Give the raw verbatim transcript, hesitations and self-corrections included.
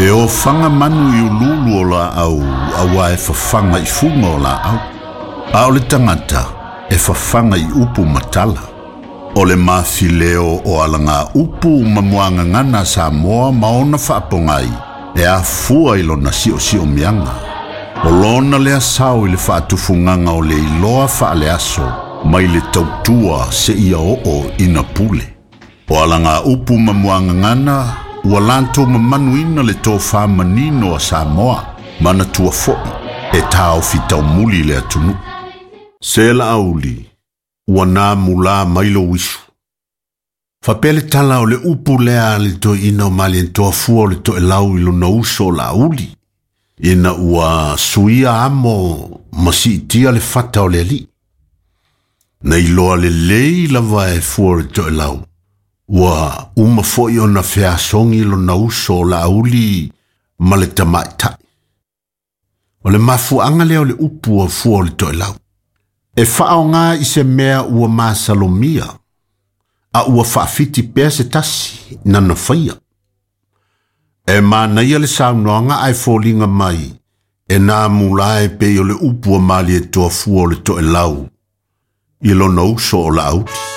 E ofaga manu i uluulu o laau auā e fafaga i fuga o laau. A o le tagata e fafaga i upu ma tala. O le mafileo o alaga upu ma muagagana a Samoa ma ona faapogai e afua i lona siosiomiaga. O lona lea sao i le faatufugaga o le iloa faaleaso mai le tautua seia oo ina pule. O alaga upu ma muagagana ua latou mamanuina le tofā manino a Samoa manatua foi e taofi taumuli le atunuu. Se Laauli, ua na mulā mai lou uisu. Faapea le tala o le upu lea a le toeaina o Malietoa fua o le Toelau i lona uso o Laauli, ina ua suia amo ma siitia le fata o le alii. Na iloa lelei lava e fua o le Toelau, ua uma foi ona feasogi lona uso o Laauli ma le tamaitai. O le mafuaaga lea o le upu a fua o le Toelau. E faaaoga i se mea ua masalomia, a ua faafiti pea se tasi na faia. E manaia le saunoaga ae foliga mai e na mulā e pei o le upu a Malietoa fua o le Toelau i lona uso o Laauli.